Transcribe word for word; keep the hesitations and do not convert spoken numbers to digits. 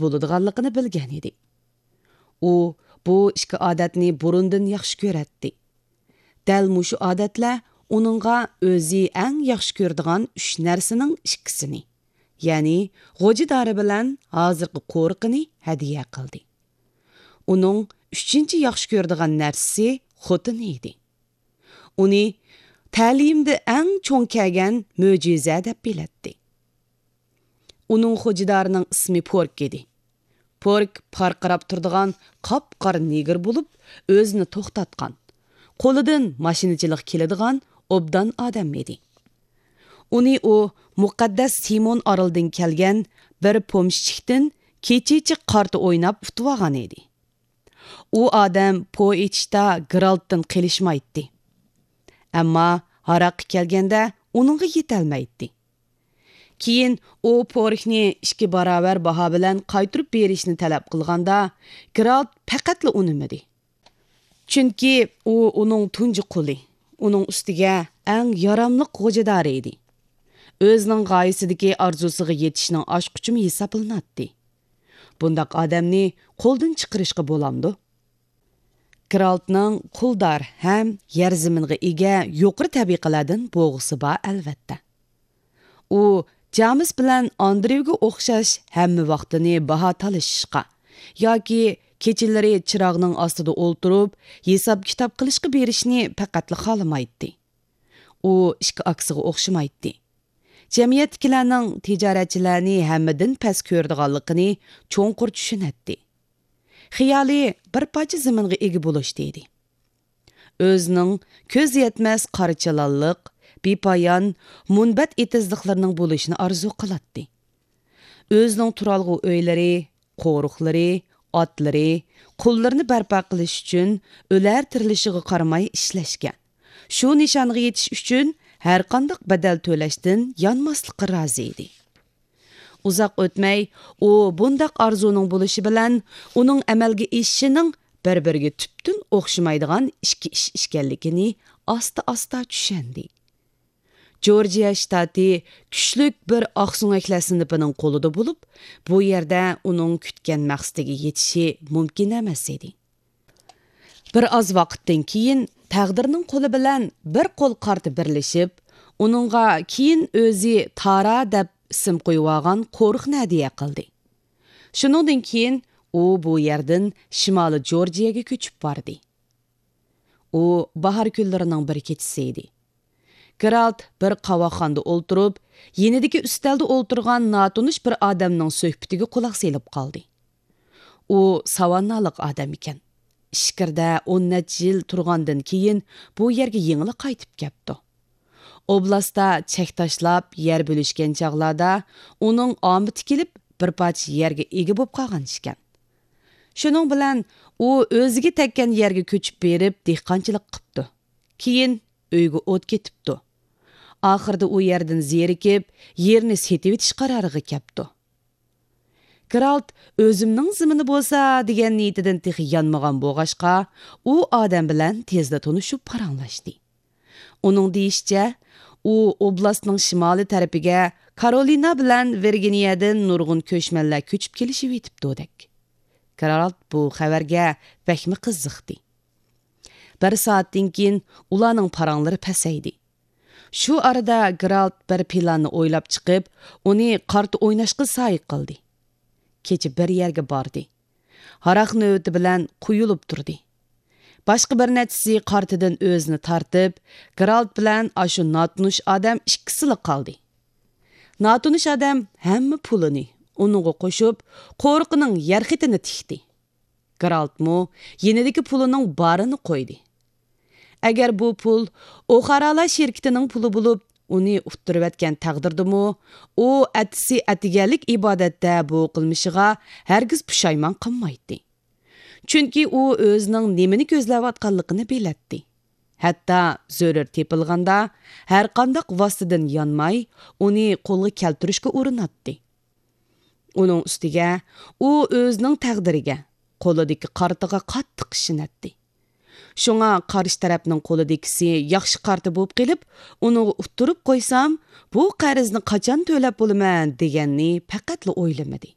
بولىدىغانلىقىنى بىلگەن ئىدى. ئۇ بۇ ئىككى ئادەتنى بۇرۇندىن ياخشى كۆرەتتى. دەل مۇشۇ ئادەتلەر ئۇنىڭغا ئۆزى ئەڭ ياخشى كۆرىدىغان ئۈچ نەرسىنىڭ ئىككىسىنى، يەنى غوجىدارى بىلەن ھازىرقى قورۇقىنى ھەدىيە قىلدى. ئۇنىڭ ئۈچىنچى ياخشى كۆرىدىغان نەرسىسى خوتۇنى ئىدى. ئۇنى تەلىيىمدە ئەڭ چوڭ كەلگەن مۆجىزە دەپ بىلەتتى. ئۇنىڭ غوجىدارىنىڭ ئىسمى پورك ئىدى. پورك پارقىراپ تۇرىدىغان قاپقارا نېگىر بولۇپ، ئۆزىنى توختاتقان، قولىدىن ماشىنىچىلىق كېلىدىغان ئوبدان ئادەم ئىدى. ئۇنى ئۇ مۇقەددەس سىمون ئارىلىدىن كەلگەن بىر پومېشچىكتىن كېچىچە قارتا ئويناپ ئۇتۇۋالغان ئىدى. ئۇ ئادەم پو ئېچىشتا گېرالتتىن قېلىشمايتتى. ئەمما ھاراققا كەلگەندە ئۇنىڭغا يېتەلمەيتتى. كېيىن ئۇ پوركنى ئىككى باراۋەر باھا بىلەن قايتۇرۇپ بېرىشنى تەلەپ قىلغاندا، گېرالت پەقەتلا ئۇنىمىدى. چۈنكى ئۇ ئۇنىڭ تۇنجى قۇلى، ئۇنىڭ ئۈستىگە ئەڭ ياراملىق غوجىدارى ئىدى. ئۆزىنىڭ غايىسىدىكى ئارزۇسىغا يېتىشنىڭ ئاچقۇچىمۇ ھېسابلىناتتى. بۇنداق ئادەمنى قولدىن چىقىرىشقا بولامدۇ؟ گېرالتنىڭ قۇلدار ھەم يەر زېمىنغا ئىگە يۇقىرى تەبىقىلەردىن بوغىسى بار، ئەلۋەتتە. ئۇ جامېس بىلەن ئاندرېۋگە ئوخشاش ھەممە ۋاقتىنى باھا تالىشىشقا ياكى كېچىلىرى چىراغنىڭ ئاستىدا ئولتۇرۇپ ھېساب-كىتاب قىلىشقا بېرىشنى پەقەتلا خالىمايتتى. ئۇ ئىككى ئاكىسىغا ئوخشىمايتتى. جەمئىيەتتىكىلەرنىڭ تىجارەتچىلەرنى ھەممىدىن پەس كۆرىدىغانلىقىنى چوڭقۇر چۈشىنەتتى. خىيالى بىر پارچە زېمىنغا ئىگە بولۇشتا ئىدى. ئۆزىنىڭ كۆز يەتمەس قارا چىلانلىق، بىپايان، مۇنبەت ئېتىزلىقلىرىنىڭ بولۇشىنى ئارزۇ قىلاتتى. ئۆزىنىڭ تۇرالغۇ ئۆيلىرى، قورۇقلىرى، ئاتلىرى، قۇللىرىنى بەرپا قىلىش ئۈچۈن ئۆلەر تىرىلىشىغا قارىماي ئىشلەشكە، شۇ نىشانغا يېتىش ئۈچۈن ھەرقانداق بەدەل تۆلەشتىن يانماسلىققا رازى ئىدى. ئۇزاق ئۆتمەي، ئۇ بۇنداق ئارزۇنىڭ بولۇشى بىلەن ئۇنىڭ ئەمەلگە ئېشىشىنىڭ بىر-بىرىگە تۈپتىن ئوخشىمايدىغان ئىككى ئىش ئىكەنلىكىنى ئاستا-ئاستا چۈشەندى. جورجىيا شتاتى كۈچلۈك بىر ئاقسۆڭەكلەر سىنىپىنىڭ قولىدا بولۇپ، بۇ يەردە ئۇنىڭ كۈتكەن مەقسىتىگە يېتىشى مۇمكىن ئەمەس ئىدى. بىر ئاز ۋاقىتتىن كېيىن تەقدىرنىڭ قولى بىلەن بىر قول قارتا بىرلىشىپ، ئۇنىڭغا كېيىن ئۆزى تارا دەپ ئىسىم قويۇۋالغان قورۇقنى ھەدىيە قىلدى. شۇنىڭدىن كېيىن ئۇ بۇ يەردىن شىمالىي جورجىيەگە كۆچۈپ باردى. ئۇ باھار كۈنلىرىنىڭ بىر كېچىسى ئىدى. گېرالت بىر قاۋاقخانىدا ئولتۇرۇپ، يېنىدىكى ئۈستەلدە ئولتۇرغان ناتونۇش بىر ئادەمنىڭ سۆھبىتىگە قۇلاق سېلىپ قالدى. ئۇ ساۋاننالىق ئادەم ئىكەن. ئىچكىرىدە ئون نەچچە يىل تۇرغاندىن كېيىن بۇ يەرگە يېڭىلا قايتىپ كەپتۇ. ئوبلاستتا چەك تاشلاپ يەر بۆلۈشكەن چاغلاردا ئۇنىڭ ئامىتى كېلىپ بىر پارچە يەرگە ئىگە بولۇپ قالغان ئىكەن. شۇنىڭ بىلەن ئۇ ئۆزىگە تەگكەن يەرگە كۆچۈپ بېرىپ دېھقانچىلىق قىپتۇ. كېيىن ئۆيىگە ئوت كېتىپتۇ. ئاخىرىدا ئۇ يەردىن زېرىكىپ، يېرىنى سېتىۋېتىش قارارىغا كەپتۇ. گېرالت ئۆزۈمنىڭ زېمىنى بولسا دېگەن نىيىتىدىن تېخى يانمىغان بولغاچقا، ئۇ ئادەم بىلەن تېزلا تونۇشۇپ پاراڭلاشتى. ئۇنىڭ دېيىشىچە، ئۇ ئوبلاستنىڭ شىمالىي تەرىپىگە كارولىنا بىلەن ۋىرگىنىيەدىن نۇرغۇن كۆچمەنلەر كۆچۈپ كېلىشىۋېتىپتۇدەك. گېرالت بۇ خەۋەرگە بەكمۇ قىزىقتى. بىر سائەتتىن كېيىن ئۇلارنىڭ پاراڭلىرى پەسەيدى. شۇ ئارىدا گېرالت بىر پىلاننى ئويلاپ چىقىپ، ئۇنى قارتا ئويناشقا سايە قىلدى. كېچە بىر يەرگە باردى. ھاراق نۆۋىتى بىلەن قۇيۇلۇپ تۇردى. باشقا بىر نەچچىسى قارتىدىن ئۆزىنى تارتىپ، گېرالت بىلەن ئاشۇ ناتونۇش ئادەم ئىككىسىلا قالدى. ناتونۇش ئادەم ھەممە پۇلىنى ئۇنىڭغا قوشۇپ، قورۇقىنىڭ يەر خېتىنى تىكتى. گېرالتمۇ يېنىدىكى پۇلىنىڭ بارىنى قويدى. ئەگەر بۇ پۇل ئوخارالار شىركىتىنىڭ پۇلى بولۇپ، ئۇنى ئۇتتۇرۇۋەتكەن تەقدىردىمۇ، ئۇ ئەتىسى ئەتىگەنلىك ئىبادەتتە بۇ قىلمىشىغا ھەرگىز پۇشايمان قىلمايتتى. چۈنكى ئۇ ئۆزىنىڭ نېمىنى كۆزلەۋاتقانلىقىنى بىلەتتى. ھەتتا زۆرۈر تېپىلغاندا، ھەرقانداق ۋاسىتىدىن يانماي، ئۇنى قولغا كەلتۈرۈشكە ئۇرۇناتتى. ئۇنىڭ ئۈستىگە ئۇ ئۆزىنىڭ تەقدىرىگە، قولىدىكى قارتىغا قاتتىق ئىشىنەتتى. شۇڭا قارشى تەرەپنىڭ قولىدىكىسى ياخشى قارتا بولۇپ قېلىپ، ئۇنىڭغا ئۇتتۇرۇپ قويسام، بۇ قەرزنى قاچان تۆلەپ بولىمەن دېگەننى پەقەتلا ئويلىمىدى.